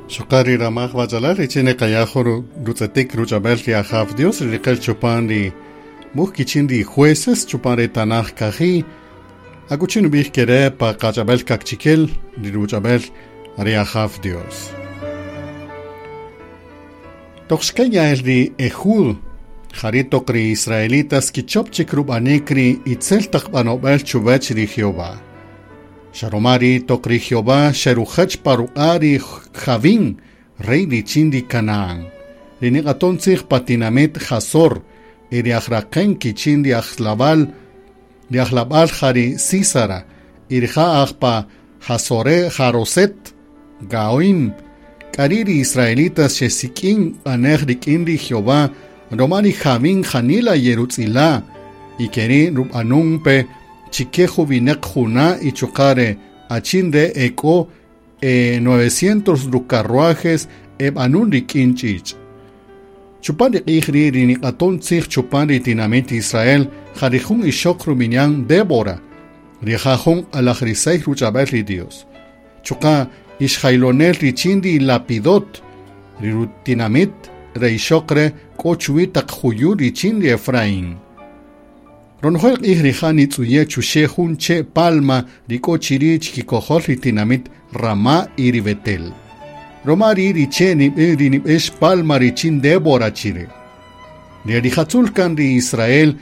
Xuqa' ri ramaj wach'alal richin niqaya' jun rutz'etik ruch'ab'el ri Ajaw Dios ri riqel chupan ri wuj kichin ri Jueces chupan ri tanaj kaji', akuchi nub'ij kere' pa qach'ab'el kaqchikel ri ruch'ab'el ri Ajaw Dios. Toq xkeya'el ri Ehud, jari' toq ri israelitas kichop chik rub'anik ri itzel taq b'anob'el chuwech ri Jehová. Xa roma ri' toq ri Jehová xerujech pa ruq'a' ri Jabín, rey richin ri Canaán, ri niq'aton tzij pa tinamit Hazor, y ri aj-raqen kichin ri ajlabal, ri ajlabal ja ri Sísara, y rija' aj pa Hazore Haroset Gaoim. K'ari' ri israelitas xesik'in q'anej rik'in ri Jehová roma ri Jabín janila yerutz'ila', y keri' rub'anun pe chike juwineq juna' y chuqa' re achin re' ek'o e 900 rucarruajes eb'anun rik'in ch'ich'. Chupan ri q'ij ri' ri niq'aton tzij chupan ri tinamit Israel ja ri jun ixoq rub'ini'an Débora, rija' jun q'alajrisey ruch'ab'el ri Dios. Chuqa' ixjaylonel richin ri Lapidot, ri rutinamit re ixoq re' k'o chuwi' taq juyu' richin ri Efraín. Ronojel q'ij rija' nitz'uye' chuxe' jun che' palma ri k'o chiri' chikikojol ri tinamit Ramá y ri Betel. Roma ri' ri che' ri nib'ex palma richin Débora chire. Ri rijatzul kan ri Israel.